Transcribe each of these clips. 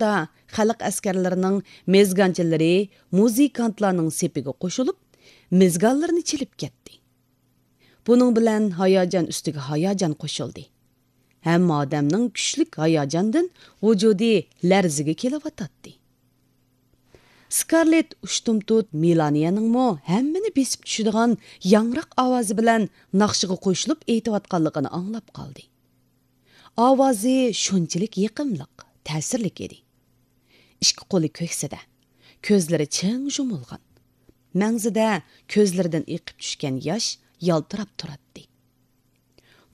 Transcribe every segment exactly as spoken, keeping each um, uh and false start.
ۋاقىتتا خەلق ئەسكەرلىرىنىڭ مېزگانچىلىرى مۇزىكانتلارنىڭ سېپىگە قوشۇلۇپ، مېزگانلىرىنى چېلىپ كەتتى. بۇنىڭ بىلەن ھاياجان ئۈستىگە ھاياجان قوشۇلدى. ھەممە ئادەمنىڭ كۈچلۈك ھاياجاندىن ۋۇجۇدى لەرزىگە كېلىۋاتاتتى. سكارلېت ئۇشتۇمتۇت مېلانىيەنىڭمۇ ھەممىنى بېسىپ چۈشىدىغان ياڭراق ئاۋازى بىلەن ناخشىغا قوشۇلۇپ ئېيتىۋاتقانلىقىنى ئاڭلاپ قالدى. ئاۋازى شۇنچىلىك يېقىملىق، تەسىرلىك ئىدى. ئىككى قولى كۆكسىدە، كۆزلىرى چىڭ يۇمۇلغان. مەڭزىدە كۆزلىرىدىن ئېقىپ چۈشكەن ياش يالتىراپ تۇراتتى.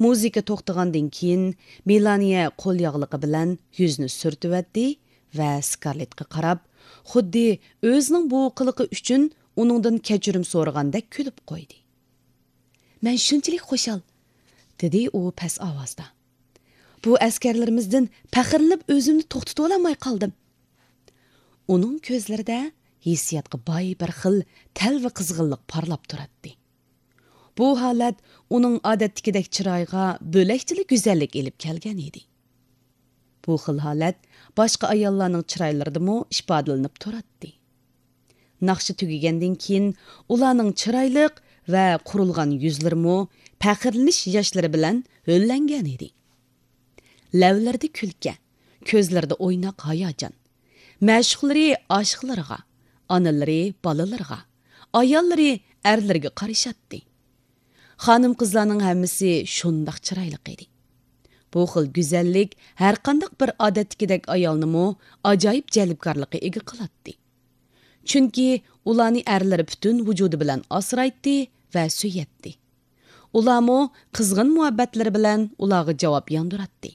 مۇزىكا توختىغاندىن كېيىن، مېلانىيە قول ياغلىقى بىلەن يۈزىنى سۈرتۈۋەتتى ۋە سكارلېتقا قاراپ، خۇددى ئۆزىنىڭ بۇ قىلىقى ئۈچۈن ئۇنىڭدىن كەچۈرۈم سورىغاندەك كۈلۈپ قويدى. «مەن شۇنچىلىك خۇشال»، دېدى ئۇ پەس ئاۋازدا. «بۇ ئەسكەرلىرىمىزدىن پەخىرلىنىپ ئۆزۈمنى توختىتىۋالالماي قالدىم.» ئۇنىڭ كۆزلىرىدە ھېسسىياتقا باي بىر خىل تەلۋە قىزغىنلىق پارلاپ تۇراتتى. بۇ ھالەت ئۇنىڭ ئادەتتىكىدەك چىرايىغا بۆلەكچىلا گۈزەللىك ئېلىپ كەلگەن ئىدى. بۇ خىل ھالەت باشقا ئاياللارنىڭ چىرايلىرىدىمۇ ئىپادىلىنىپ تۇراتتى. ناخشا تۈگىگەندىن كېيىن ئۇلارنىڭ چىرايلىق ۋە قۇرۇلغان يۈزلىرىمۇ پەخىرلىنىش ياشلىرى بىلەن ھۆللەنگەن ئىدى. لەۋلىرىدە كۈلكە، كۆزلىرىدە ئويناق ھاياجان. مەشۇقلىرى ئاشىقلىرىغا، ئانىلىرى بالىلىرىغا، ئاياللىرى ئەرلىرىگە قارىشاتتى. خانىم-قىزلارنىڭ ھەممىسى شۇنداق چىرايلىق ئىدى. بۇ خىل گۈزەللىك ھەرقانداق بىر ئادەتتىكىدەك ئايالنىمۇ ئاجايىپ جەلپكارلىققا ئىگە قىلاتتى. چۈنكى ئۇلارنى ئەرلىرى پۈتۈن ۋۇجۇدى بىلەن ئاسرايتتى ۋە سۆيەتتى. ئۇلارمۇ قىزغىن مۇھەببەتلىرى بىلەن ئۇلارغا جاۋاب ياڭدۇراتتى.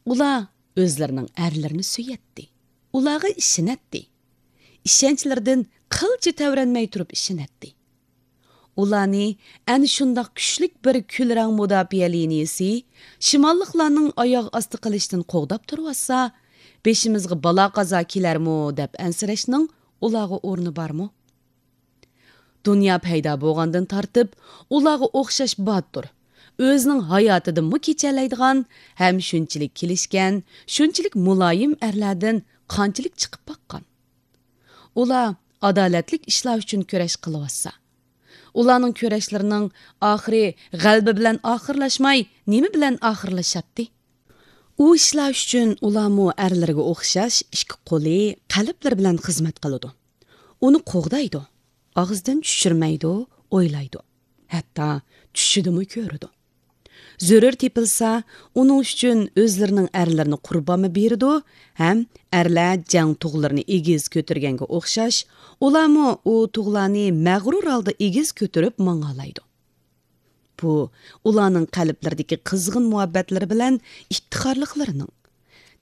ئۇلار ئۆزلىرىنىڭ ئەرلىرىنى سۆيەتتى. ئۇلارغا ئىشىنەتتى. ئىشەنچلىرىدىن قىلچە تەۋرەنمەي تۇرۇپ ئىشىنەتتى. ئۇلارنى ئەنە شۇنداق كۈچلۈك بىر كۈلرەڭ مۇداپىئە لىنىيىسى شىماللىقلارنىڭ ئاياغ ئاستى قىلىشتىن قوغداپ تۇرۇۋاتسا، بېشىمىزغا بالا-قازا كېلەرمۇ دەپ ئەنسىرەشنىڭ ئۇلارغا ئورنى بارمۇ؟ دۇنيا پەيدا بولغاندىن تارتىپ، ئۇلارغا ئوخشاش باتۇر، ئۆزىنىڭ ھاياتىدىنمۇ كېچەلەيدىغان ھەم شۇنچىلىك كېلىشكەن، شۇنچىلىك مۇلايىم ئەرلەردىن قانچىلىك چىقىپ باققان؟ ئۇلار ئادالەتلىك ئىشلار ئۈچۈن كۈرەش قىلىۋاتسا، ئۇلارنىڭ كۈرەشلىرىنىڭ ئاخىرى غەلىبە بىلەن ئاخىرلاشماي، نېمە بىلەن ئاخىرلىشاتتى؟ ئۇ ئىشلار ئۈچۈن ئۇلارمۇ ئەرلىرىگە ئوخشاش ئىككى قولى، قەلبلىرى بىلەن خىزمەت قىلىدۇ. ئۇنى قوغدايدۇ، ئاغزىدىن چۈشۈرمەيدۇ، ئويلايدۇ. ھەتتا چۈشىدىمۇ كۆرىدۇ. زۆرۈر تېپىلسا، ئۇنىڭ ئۈچۈن ئۆزلىرىنىڭ ئەرلىرىنى قۇربانمۇ بېرىدۇ ھەم ئەرلەر جەڭ تۇغلىرىنى ئېگىز كۆتۈرگەنگە ئوخشاش، ئۇلارمۇ ئۇ تۇغلارنى مەغرۇر ھالدا ئېگىز كۆتۈرۈپ ماڭالايدۇ. بۇ ئۇلارنىڭ قەلبلىرىدىكى قىزغىن مۇھەببەتلىرى بىلەن ئىپتىخارلىقلىرىنىڭ،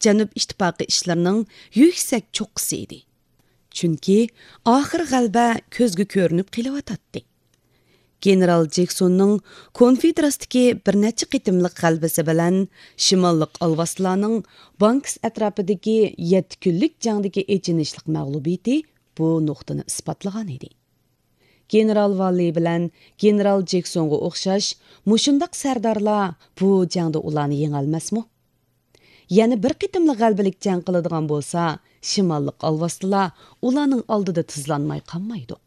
جەنۇب ئىتتىپاقى ئىشلىرىنىڭ يۈكسەك چوققىسى ئىدى. چۈنكى ئاخىر غەلىبە كۆزگە كۆرۈنۈپ قېلىۋاتاتتى. گېنېرال جېكسوننىڭ كونفېدېراتسىيىدىكى بىر نەچچە قېتىملىق غەلىبىسى بىلەن شىماللىق ئالۋاستىلارنىڭ بانكس ئەتراپىدىكى يەتتە كۈنلۈك جەڭدىكى ئېچىنىشلىق مەغلۇبىيىتى بۇ نۇقتىنى ئىسپاتلىغان ئىدى. گېنېرال ۋاللى بىلەن گېنېرال جېكسونغا ئوخشاش مۇشۇنداق سەردارلار بۇ جەڭدە ئۇلارنى يېڭەلمەسمۇ؟ يەنە بىر قېتىملىق غەلىبىلىك جەڭ قىلىدىغان بولسا، شىماللىق ئالۋاستىلار ئۇلارنىڭ ئالدىدا تىزلانماي قالمايدۇ.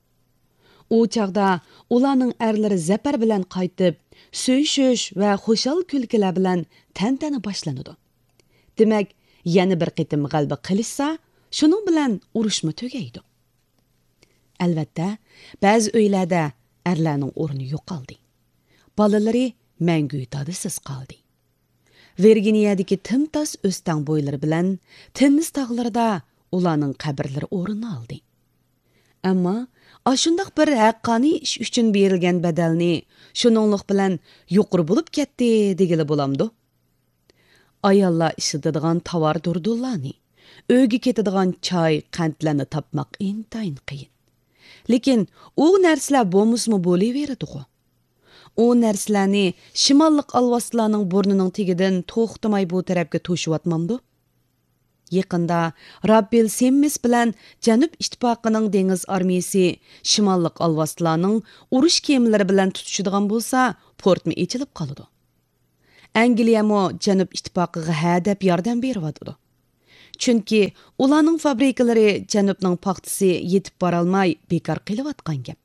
ئۇ چاغدا ئۇلارنىڭ ئەرلىرى زەپەر بىلەن قايتىپ، سۆيۈشۈش ۋە خۇشال كۈلكىلەر بىلەن تەنتەنە باشلىنىدۇ. دېمەك، يەنە بىر قېتىم غەلىبە قىلىشسا، شۇنىڭ بىلەن ئۇرۇشمۇ تۈگەيدۇ. ئەلۋەتتە، بەزى ئۆيلەردە ئەرلەرنىڭ ئورنى يوقالدى. بالىلىرى مەڭگۈ دادىسىز قالدى. ۋىرگىنىيەدىكى تىمتاس ئۆستەڭ بويلىرى بىلەن تېننېس تاغلىرىدا ئۇلارنىڭ قەبرىلىرى ئورۇن ئالدى. ئەمما ئاشۇنداق بىر ھەققانىي ئىش ئۈچۈن بېرىلگەن بەدەلنى شۇنىڭلىق بىلەن يۇقىرى بولۇپ كەتتى دېگىلى بولامدۇ؟ ئاياللار ئىشلىتىدىغان تاۋار دۇردۇنلارنى، ئۆيگە كېتىدىغان چاي، قەنتلەرنى تاپماق ئىنتايىن قىيىن. لېكىن ئۇ نەرسىلەر بولمىسىمۇ بولۇۋېرىدىغۇ. ئۇ نەرسىلەرنى شىماللىق ئالۋاستىلارنىڭ بۇرنىنىڭ تېگىدىن توختىماي بۇ تەرەپكە توشۇۋاتمامدۇ؟ يېقىندا راببېل سېممىس بىلەن جەنۇب ئىتتىپاقىنىڭ دېڭىز ئارمىيىسى شىماللىق ئالۋاستىلارنىڭ ئۇرۇش كېمىلىرى بىلەن تۇتۇشىدىغان بولسا، پورتمۇ ئېچىلىپ قالىدۇ. ئەنگلىيەمۇ جەنۇب ئىتتىپاقىغا ھە دەپ ياردەم بېرىۋاتىدۇ. چۈنكى ئۇلارنىڭ فابرىكىلىرى جەنۇبنىڭ پاختىسى يېتىپ بارالماي بىكار قېلىۋاتقان گەپ.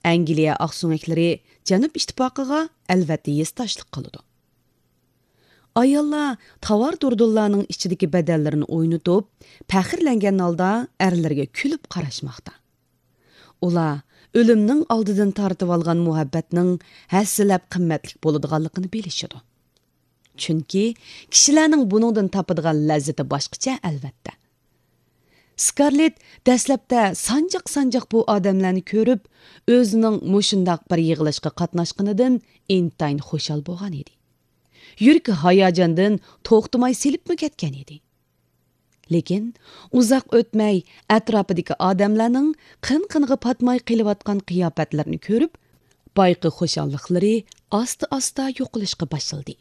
ئەنگلىيە ئاقسۆڭەكلىرى جەنۇب ئىتتىپاقىغا ئەلۋەتتە ھېسداشلىق قىلىدۇ. ئاياللار تاۋار دۇردۇنلارنىڭ ئىچىدىكى بەدەنلىرىنى ئوينىتىپ، پەخىرلەنگەن ھالدا ئەرلىرىگە كۈلۈپ قاراشماقتا. ئۇلار ئۆلۈمنىڭ ئالدىدىن تارتىۋالغان مۇھەببەتنىڭ ھەسسىلەپ قىممەتلىك بولىدىغانلىقىنى بىلىشىدۇ. چۈنكى كىشىلەرنىڭ بۇنىڭدىن تاپىدىغان لەززىتى باشقىچە، ئەلۋەتتە. سكارلېت دەسلەپتە سانجاق-سانجاق بۇ ئادەملەرنى كۆرۈپ، ئۆزىنىڭ مۇشۇنداق بىر يىغىلىشقا قاتناشقىنىدىن ئىنتايىن خۇشال بولغان ئىدى. يۈرىكى ھاياجاندىن توختىماي سېلىپمۇ كەتكەن ئىدى. لېكىن ئۇزاق ئۆتمەي ئەتراپىدىكى ئادەملەرنىڭ قىن-قىنىغا پاتماي قېلىۋاتقان قىياپەتلىرىنى كۆرۈپ، بايىقى خۇشاللىقلىرى ئاستا-ئاستا يوقىلىشقا باشلىدى.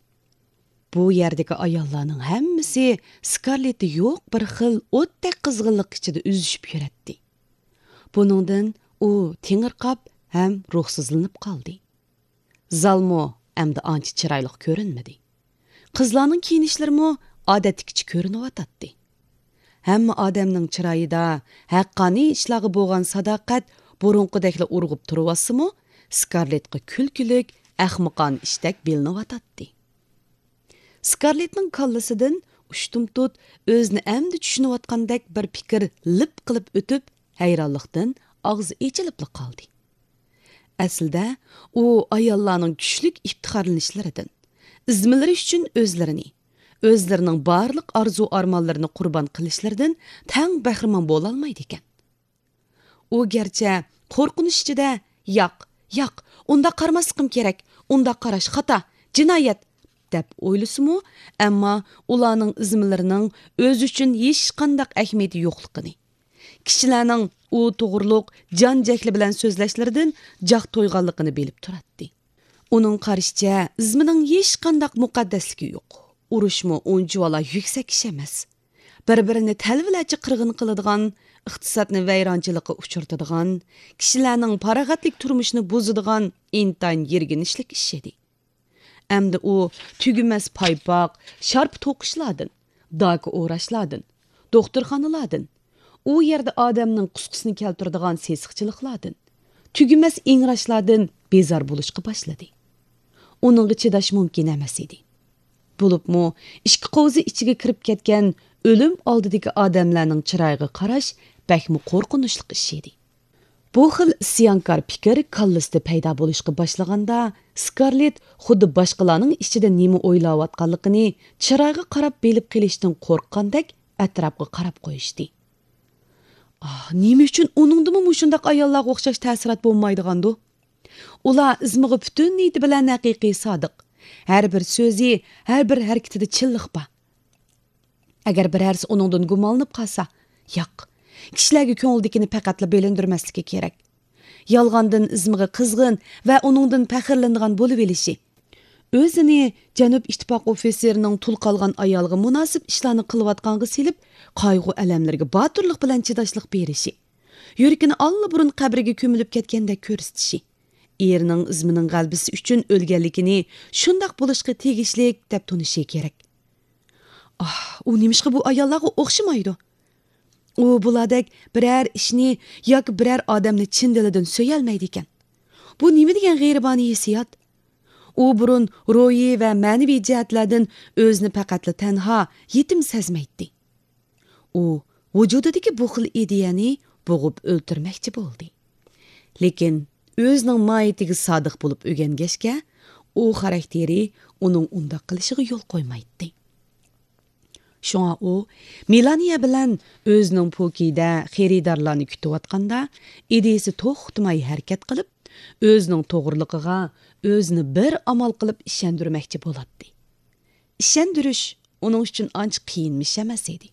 بۇ يەردىكى ئاياللارنىڭ ھەممىسى سكارلېتتە يوق بىر خىل ئوتتەك قىزغىنلىق ئىچىدە ئۈزۈشۈپ يۈرەتتى. بۇنىڭدىن ئۇ تېڭىرقاپ ھەم روھسىزلىنىپ قالدى. زالمۇ ئەمدى ئانچە چىرايلىق كۆرۈنمىدى. قىزلارنىڭ كىيىنىشلىرىمۇ ئادەتتىكىچە كۆرۈنۈۋاتاتتى. ھەممە ئادەمنىڭ چىرايىدا ھەققانىي ئىشلارغا بولغان ساداقەت بۇرۇنقىدەكلا ئۇرغۇپ تۇرۇۋاتسىمۇ، سكارلېتقا كۈلكىلىك، ئەخمىقانە ئىشتەك بىلىنىۋاتاتتى. سكارلېتنىڭ كاللىسىدىن ئۇشتۇمتۇت ئۆزىنى ئەمدى چۈشىنىۋاتقاندەك بىر پىكىر لىپ قىلىپ ئۆتۈپ، ھەيرانلىقتىن ئاغزى ئېچىلىپلا قالدى. ئەسلىدە ئۇ ئاياللارنىڭ كۈچلۈك ئىپتىخارلىنىشلىرىدىن، ئىزمىلىرى ئۈچۈن ئۆزلىرىنى، ئۆزلىرىنىڭ بارلىق ئارزۇ-ئارمانلىرىنى قۇربان قىلىشلىرىدىن تەڭ بەھرىمەن بولالمايدىكەن. ئۇ گەرچە قورقۇنچ ئىچىدە، «ياق، ياق، ئۇنداق قارىماسلىقىم كېرەك، ئۇنداق قاراش خاتا، جىنايەت» دەپ ئويلىسىمۇ، ئەمما ئۇلارنىڭ ئىزمىلىرىنىڭ ئۆزى ئۈچۈن ھېچقانداق ئەھمىيىتى يوقلۇقىنى، كىشىلەرنىڭ ئۇ توغرۇلۇق جان-جەھلى بىلەن سۆزلەشلىرىدىن جاق تويغانلىقىنى بىلىپ تۇراتتى. ئۇنىڭ قارىشىچە، ئىزمىنىڭ ھېچقانداق مۇقەددەسلىكى يوق. ئۇرۇشمۇ ئۇنچىۋالا يۈكسەك ئىش ئەمەس. بىر-بىرىنى تەلۋىلەرچە قىرغىن قىلىدىغان، ئىقتىسادنى ۋەيرانچىلىققا ئۇچرىتىدىغان، كىشىلەرنىڭ پاراغەتلىك تۇرمۇشىنى بۇزىدىغان ئىنتايىن يىرگىنچلىك ئىش ئىدى. ئەمدى ئۇ تۈگىمەس پايپاق، شارپا توقۇشلاردىن، داكا ئوراشلاردىن، دوختۇرخانىلاردىن، ئۇ يەردە ئادەمنىڭ قۇسقىسىنى كەلتۈرىدىغان سېسىقچىلىقلاردىن، تۈگىمەس ئىڭراشلاردىن بىزار بولۇشقا باشلىدى. ئۇنىڭغا چىداش مۇمكىن ئەمەس ئىدى. بولۇپمۇ ئىككى قوۋزا ئىچىگە كىرىپ كەتكەن ئۆلۈم ئالدىدىكى ئادەملەرنىڭ چىرايىغا قاراش بەكمۇ قورقۇنچلۇق ئىش ئىدى. بۇ خىل ئىسيانكار پىكىر كاللىسىدا پەيدا بولۇشقا باشلىغاندا، سكارلېت خۇددى باشقىلارنىڭ ئىچىدە نېمە ئويلاۋاتقانلىقىنى چىرايغا قاراپ بىلىپ قېلىشتىن قورققاندەك ئەتراپقا قاراپ قويۇشتى. ئاھ، نېمە ئۈچۈن ئۇنىڭدىمۇ مۇشۇنداق ئاياللارغا ئوخشاش تەسىرات بولمايدىغاندۇ؟ ئۇلار ئىزمىغا پۈتۈن نىيىتى بىلەن ھەقىقىي سادىق. ھەر بىر سۆزى، ھەر بىر ھەرىكىتىدە چىنلىق بار. ئەگەر بىرەرسى ئۇنىڭدىن گۇمانلىنىپ قالسا، ياق، كىشىلەرگە كۆڭلىدىكىنى پەقەتلا بىلىندۈرمەسلىكى كېرەك. يالغاندىن ئىزمىغا قىزغىن ۋە ئۇنىڭدىن پەخىرلىنىدىغان بولۇۋېلىشى، ئۆزىنى جەنۇب ئىتتىپاق ئوفىتسېرىنىڭ تۇل قالغان ئايالىغا مۇناسىپ ئىشلارنى قىلىۋاتقانغا سېلىپ، قايغۇ-ئەلەملىرىگە باتۇرلۇق بىلەن چىداشلىق بېرىشى، يۈرىكىنى ئاللىبۇرۇن قەبرىگە كۆمۈلۈپ كەتكەندەك كۆرسىتىشى، ئېرىنىڭ ئىزمىنىڭ غەلىبىسى ئۈچۈن ئۆلگەنلىكىنى شۇنداق بولۇشقا تېگىشلىك دەپ تونۇشى كېرەك. ئاھ، ئۇ نېمىشقا بۇ ئاياللارغا ئوخشىمايدۇ؟ ئۇ بۇلاردەك بىرەر ئىشنى ياكى بىرەر ئادەمنى چىن دىلىدىن سۆيەلمەيدىكەن. بۇ نېمە دېگەن غېرىبانە ھېسسىيات؟ ئۇ بۇرۇن روھىي ۋە مەنىۋى جەھەتلەردىن ئۆزىنى پەقەتلا تەنھا، يېتىم سەزمەيتتى. ئۇ ۋۇجۇدىدىكى بۇ خىل ئىدىيەنى بوغۇپ ئۆلتۈرمەكچى بولدى. لېكىن ئۆزىنىڭ ماھىيىتىگە سادىق بولۇپ ئۆگەنگەچكە، ئۇ خاراكتېرى ئۇنىڭ ئۇنداق قىلىشىغا يول قويمايتتى. شۇڭا ئۇ مېلانىيە بىلەن ئۆزىنىڭ پوكىيدە خېرىدارلارنى كۈتۈۋاتقاندا، ئىدىيىسى توختىماي ھەرىكەت قىلىپ، ئۆزىنىڭ توغرىلىقىغا ئۆزىنى بىر ئامال قىلىپ ئىشەندۈرمەكچى بولاتتى. ئىشەندۈرۈش ئۇنىڭ ئۈچۈن ئانچە قىيىن ئىش ئەمەس ئىدى.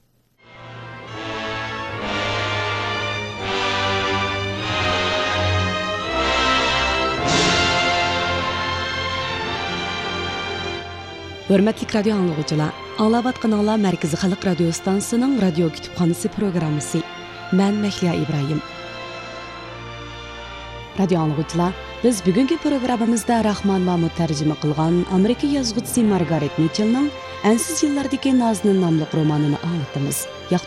ھۆرمەتلىك رادىيو ئاڭلىغۇچىلار، ئاڭلاۋاتقىنىڭلار مەركىزىي خەلق رادىيو ستانسىسىنىڭ رادىيو كۇتۇپخانىسى پروگراممىسى. مەن مەھلىيا ئىبراھىم. رادىيو ئاڭلىغۇچىلار، بىز بۈگۈنكى پروگراممىمىزدا راخمان مامۇت تەرجىمە قىلغان ئامېرىكا يازغۇچىسى مارگارېت مىچېلنىڭ ئەنسىز يىللاردىكى نازنىن ناملىق رومانىنى ئاڭلىتىمىز.